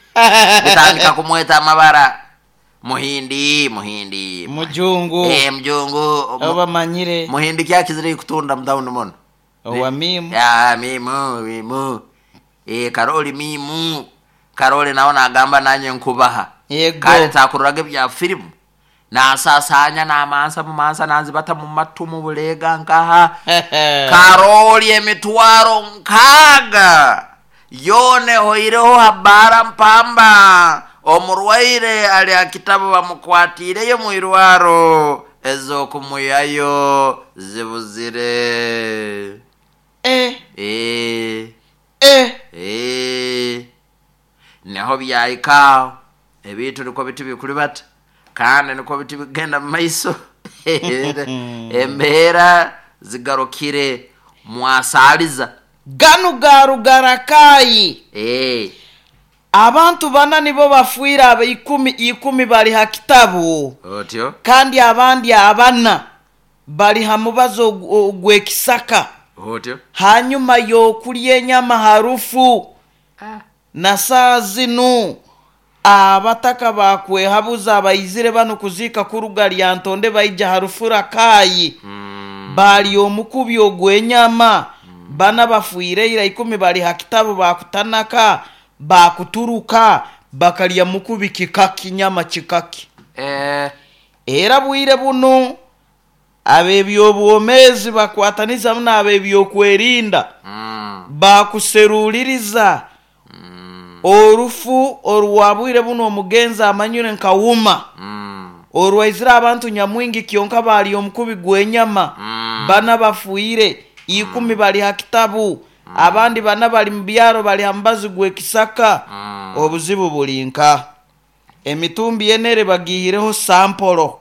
Bitandika kumweta amabara. Muhindi, muhindi. Mujungu. Eh, mjungu. Obamanyire. Muhindi kyakizire kutunda mutawuni muno. Owa mimu. Ya, mimu, mimu. Eh, Karoli mimu. Karoli nawe nagamba nanye nkubaha. Yego. Kale takururaga ebya filimu. Nasasanya namansa mumansa nanzibata mu matu mu bulega nkaha. Karoli emitwaro 6 yone hoireho habara Mpamba. Omurwaire ali akitabo bamukwatireyo mwirwaro ezokumuyayo zibuzire. Eh. Eh. Eh. Eh. Niho byahika ebintu niko biti bikuri bata kandi niko biti bigenda mu maiso. Embeera zigarukire mwasaliza. Ganu garugarakayi. Eh. Abantu bana nibo bafuira abe 10 bali ha kitabu. Otyo. Kandi abandi abana bali ha mubazo gw'ekisaka. Otyo. Hanyuma yokulya enyama harufu. Na saa zinu abataka bakwehabuza abayizire bano kuziika kuruga Lyantonde baija harufura kayi. Bali omukubi ogw'enyama. Bana bafuire ira 10 bali ha kitabu bakutanaka bakuturuka bakalya mukubi kikaki nyama kikaki. Eh. Era bwire buno ab'ebyobwomezi bakwataniza muno ab'ebyokwerinda. Bakuseruliriza orufu orwabwire buno omugenzi amanyire nka wuma. Orwaizira abantu nyamwingi kyonka bali omukubi gw'enyama. Bana bafuire 10 bali ha kitabu. Abandi bana bali mu byaro bali ha mubazi gw'ekisaka. Obuzibu bulinka emitumbi yenere bagihireho sampolo.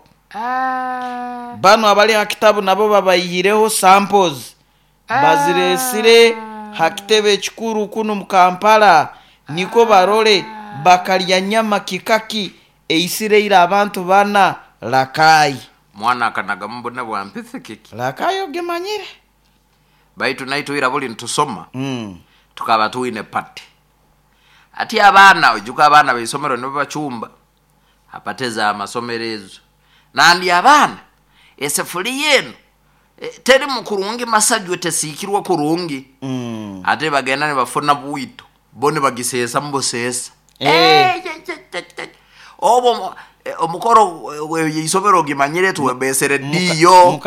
Bano abali ha kitabu nabo babayihireho samples. Baziresire ha kitebe ekikuru kuno mu Kampala niko barole bakalya nyama kikaki eisireire abantu bana Rakai. Mwana akanaga mbona bwampithe kiki. Rakai ogemanyire. Baitu naitu ira buli ntusoma. Tukaba tuine pati. Ati abaana ojuka abaana beisomero nibo bachumba. Apateza amasomero ezo. Nandi abaana esefuri yenu teri mukurungi masajwe tesikirwa kurungi. Ate bagenda ne bafuna bwito. Bone bagisesa mbosesa. Obo omukoro isomero gimanyire tuwebesere diyo.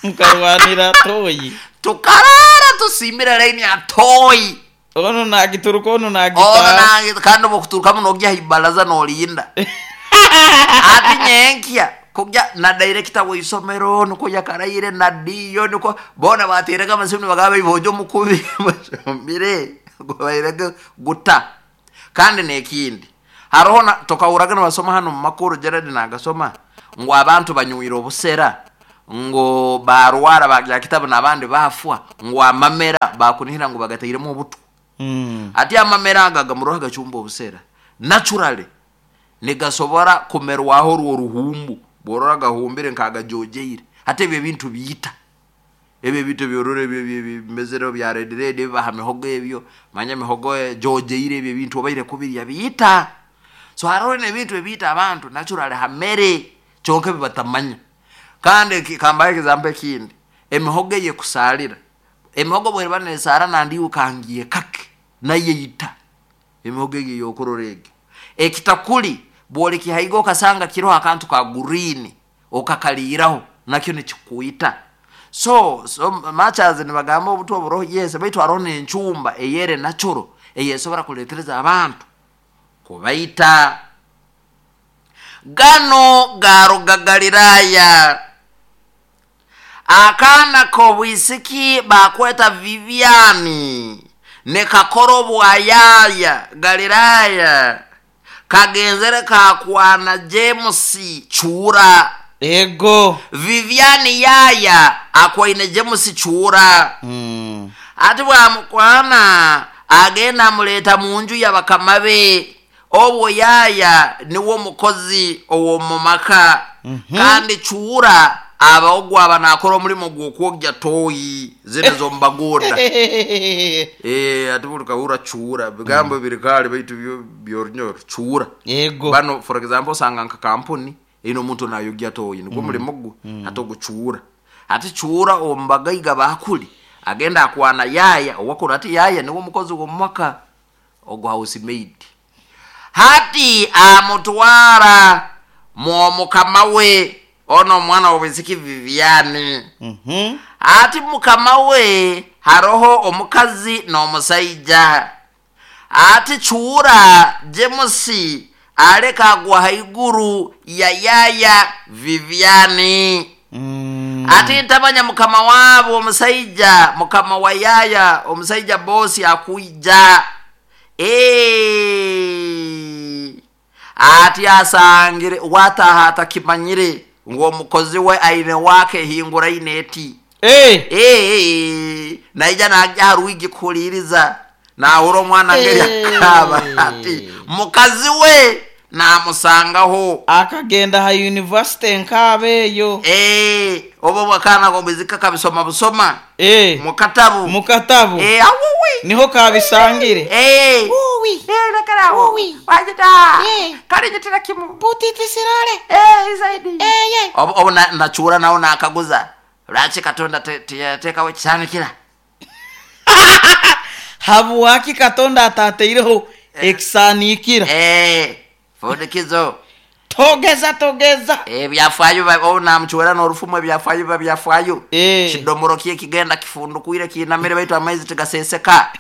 Mukarwanira toyi. Tukarara Osimbire laini atoyi. Ono nagituruka, ono Ono nagitaha. Nange kandi obukuturukamu nogya haibaraza nolinda ati nyenkya kugya na director w'isomero niko yakaraire na diyo niko bona baterega amasimu nibagamba ibojo omukubi bashombire bairege guta. Kandi nekindi haroho tokahuraga nibasoma hano mu makuru, Gerard nagasoma ngu abantu banywire obusera ngo barwara bagya kitabu n'abandi bafwa, ngu amamera bakunihira ngu bagatairemu obutwa. Ati amamera aga gamuroha gacumba obusera naturally nigasobora kumerwaho orwo oruhumbu bworora gahumbire nkagajojeire. Ate ebyo ebintu biita ebyo ebintu byorora ebyo bimezere bya red red ebibaha mihogo ebyo manya mihogo jojeire ebyo ebintu obaire kubirya biita. So haroho n'ebintu ebiita abantu naturally hamere kyonka ebibatamanya. Kandi kambahe example ekindi, emihogo eyekusalira, emihogo bweriba nesara nandiwe kangiye kake nayeita emihogo egyo yokurora egyo. Ekitakuli bwolikihaiga okasanga kiroho akantu ka green okakaliiraho nakyo nikikuita. So much as nibagamba obutwa oburoho, yes, baitu haroho n'enchumba eyere natural eyesobora kuletereza abantu kubaita. Gano garuga Galilaya. Akaana k'obwisiki bakweta Viviani nekakora obwayaya Galilaya, kagenzere kakwana James Chura. Ego. Viviani yaya akwaine James Chura. Ati bwamukwana agenda amuleta munju yabakama be. Obwo yaya niwo mukozi ow'omumaka. Kandi Chura aba ogwo aba nakora omulimo gw'okwogya toyi zino z'omubagoda. Ati buli kahura Chura bigambo biri kale baitu byo byorunyoro Chura. Ego. Bano for example osanga nka kampuni ino omuntu nayogya toyi nigwo mulimo gwe, ate ogwo Chura. Ati Chura omubagaiga bakuli agenda akwana yaya owakuru, ati yaya niwo mukozi w'omumaka ogwo housemaid. Hati amutwara mwomukama we ono omwana w'obwisiki Viviani. Ati mukama we haroho omukazi n'omusaija. Ati Chura James aleka agwa haiguru ya yaya Viviani. Ati ntamanya mukama wabo omusaija, mukama wa yaya omusaija bosi akuija. Ati asangire wataha atakimanyire ngu omukozi we aine wake hinguraine eti. Naija najja haruigi kuhuliriza nahura omwana ngeri akaba. Ati mukazi we namusangaho akagenda ha university nkabeeyo. Obo bwakana gomuzika kabisoma busoma mukatabu. Mukatabu. Awuwi. Niho kabisangire. Uwi. Lekera Uwi. Wajita. Kale jitira kimu. Butiti sirale. Zaidi. Obo, obo na nachura nao nakaguza. Lwaki Katonda teyatekawo ekisanikira? Habwaki Katonda atateireho ekisanikira? Fundikizo. Togeza togeza. Ebyafaayo obu namuchwera n'orufumu ebyafaayo biba byafaayo. Kidomoro kye kigenda kifundukwire kinamire baitu amaizi tigaseseka.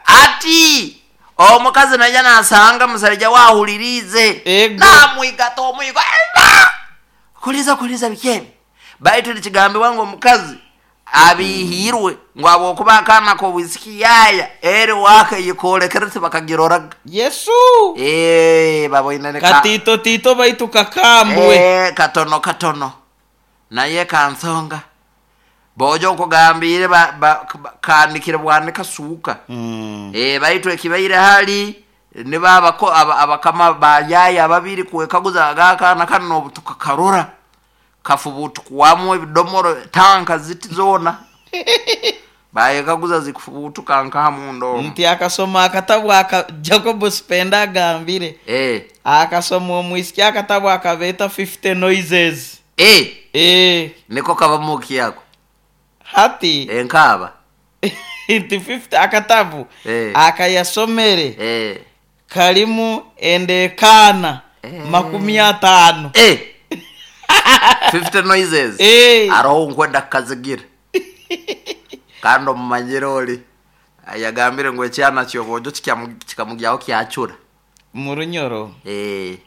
Ati omukazi naija nasanga musajja wahulirize. Namwigata omwigo. Kuliza kuliza bikebe. Baitu nikigambibwa ngu omukazi abihirwe ngu habwokuba akaana k'obwisiki yaya eri waka yikolekere tibakagiroraga. Yesu. Baboine ne katito tito baitu kakambwe. Katono katono naye kansonga bojo nkugambire kandikire bwanika suuka. Baitu ekibaire hali nibabako abakama bayaya babiri kwekaguza agakaana kano obutuka karora kafubutukwamu ebidomoro tanka ziti zona bayekaguza zikufubutuka nka mundo. Nti akasoma akatabu aka Jacob Spenda agambire. Akasoma omwisiki akatabu akabeta 50 noises. Niko kabamuki yako hati nkaba nti 50 akatabu akayasomere kalimu endekana 50. 50 noises. Aroho nkwenda kazigira. Kandi omumanyire oli yagambire ngu ekyana ky'obwojo kikamugyaho kyacura. Mu Runyoro. Eh.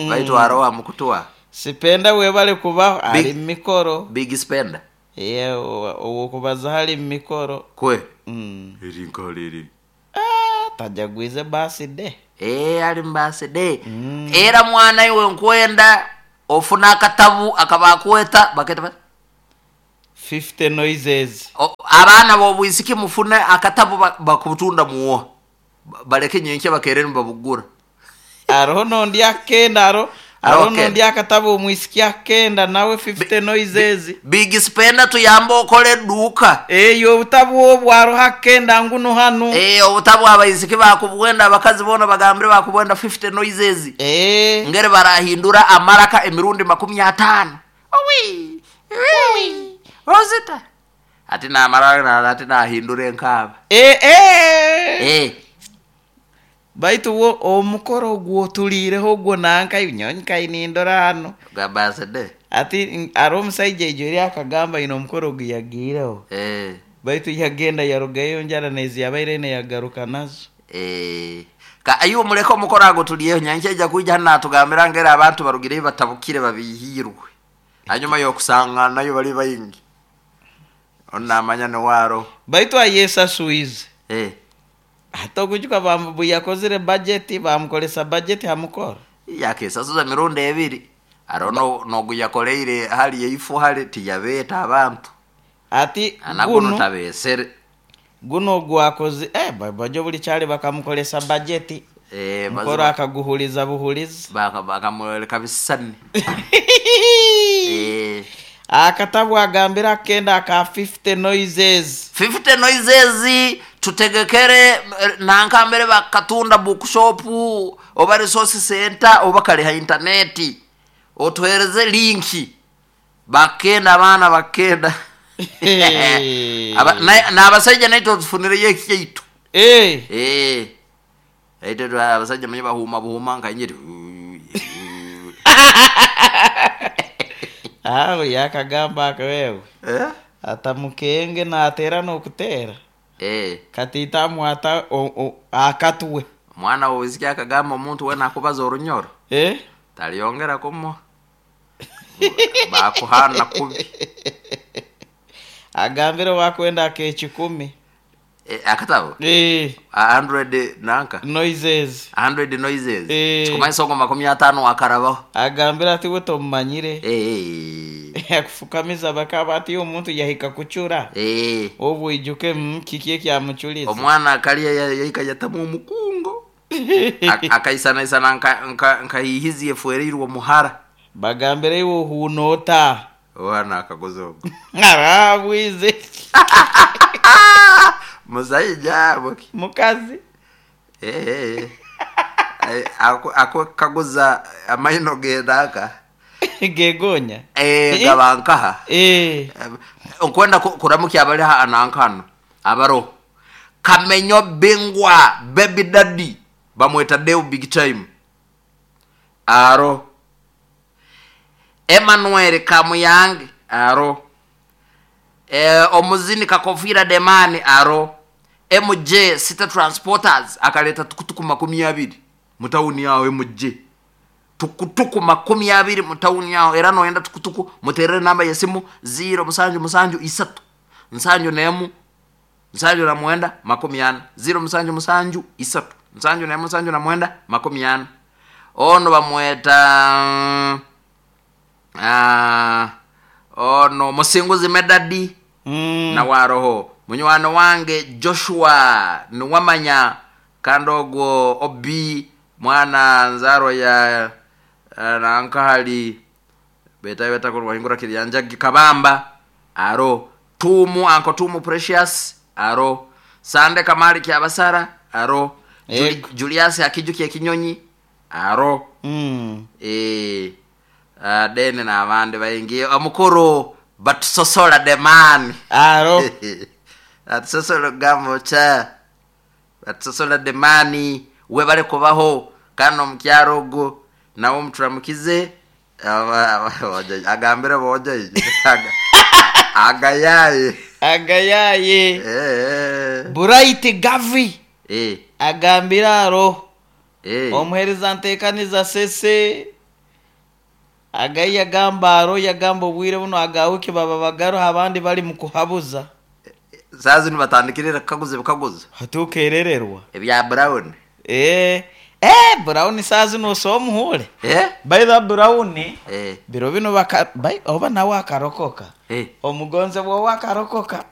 Baitu haroho amukutwa. Sipenda webale kubaho ali mu mikoro. Big Spender. Ye ow'okubazaho ali mu mikoro. Kwe. Eri nkaha eri. Ah, tajagwize birthday. Eh, ali mu birthday. Era mwana iwe nkwenda ofuna akatabu akabakweta baketa bati 50 noises. Abaana b'obwisiki mufune akatabu bakutunda muwoha. Baleke nyenkya bakeere nibabugura. Aroho nondi akenda aro aroho nondi akatabu omwisiki akenda nawe 50 noises. Big Spender tuyambe okole eduuka. Eyo obutabu obwo aroho akenda nguno hanu. Obutabu abaisiki bakubwenda, abakazi boona bagambire bakubwenda 50 noises. Ngeri barahindura amaraka emirundi 50. Owi! Owi! Rosita. Ati namara ati nahindura enkaaba. Baitu wo omukoro ogwotuliireho ogwo nanka nyowe nkayi nindora hanu. Gwa birthday. Ati hariho omusaija ijo eri akagamba aine omukoro ogu yagiireho. Baitu yagenda yarugayo enjara nezi yabaire aine yagaruka nazo. Ka iwe muleke omukoro ago tuliyeho nyankya aija kwija hanu natugambira ngeri abantu barugireyo batabukire babihiirwe. Hanyuma y'okusanganayo bali baingi. Onu namanya niwe aroho. Baitu ayesaswize. Hati okujuka yakozire budget, bamukolesa budget ha mukoro. Yakesasuza mirundi ebiri. Hariho nogu yakoleire hali eifu hali tiyabeeta abantu. Ati Anaguno guno tabesere. Guno gwakoze, bajo buli kyali bakamukolesa budget. Mukoro akaguhuliza buhuliza. Bakamwoleka bisani. Akatabu agambira akenda aka 50 noises. 50 noises tutegekere nankambere bakatunda bookshop oba resource center oba kale ha internet. Otuhereze linki. Bakenda abaana bakenda. N'abasajja naitwe tufunireyo ekyaitu. Aitwe abasajja manye bahuuma buhuuma nka nyiri. Aho yakagamba akawewe. Atamukenge natera n'okutera. Katiita amwata akatwe. Mwana w'obwisiki akagamba omuntu wena akubaza orunyoro. Taliyongera kumuha. Bakuhana kubi. Agambire wakwenda ak'ekikumi. Akatabo? 100 nanka? Noises. 100 noises. Kikumanyisa ogwo 50 akarabaho. Agambire ati we tomumanyire. Akufukamiza bakaba ati omuntu yahika kucura. Obwo ijuke kiki ekyamuculiza. Omwana akalya yahika yatamu omukungo. Akaisanaisana nkahihizi efuereirwe omuhara. Bagambire iwe ohunoota. Owana akagoza ogwo. Arabwize. Musaija boki. Mukazi. Ako kaguza amaino gedaka. Gegonya. Gabankaha. Okwenda kuramukia abali anankano. Abaro. Kamenyo bingwa baby daddy bamweta Deo big time. Aro. Emmanuel Kamuyange aro. Omuzini Kakofira Demani aro. MJ City Transporters akaleta tukutuku 20 mutauni yao MJ. Tukutuku 20 mutauni yao era noenda tukutuku muterere namba ya simu 0 7 7 3 7 nemu 7 na mwenda 40 0 7 7 3 7 nemu 7 na mwenda 40. Ono bamweta ono Musinguzi Medadi. Na waroho munywano wange Joshua niwamanya kandi ogwo obi mwana nzaro ya nankahali beta beta ko wahingura kiryanja Kabamba aro. Tumu anko Tumu Precious aro. Sande Kamali Kyabasara aro. Julius Akijuki Kinyonyi aro. Dene na abandi baingi omukuru batusosola demani aro. Batusosola gambo cha batusosola demani we bale kubaho kandi omukyaro ogwo nawe omuturamukize agambire boja agayaye. Agayaye. Bright Gavi agambire aro omuheereza nteekaniza sese agayi yagamba aro yagamba obwire buno agawiki baba bagaruha abandi bali mu kuhabuza. Saa zinu batandikirira kukaguza ebikaguzo. Hatukerererwa. Ebya Brown. Brown saa zinu osomuhure. By the Brown biro bino baka oba nawe akarokoka. Omugonzebwa we akarokoka.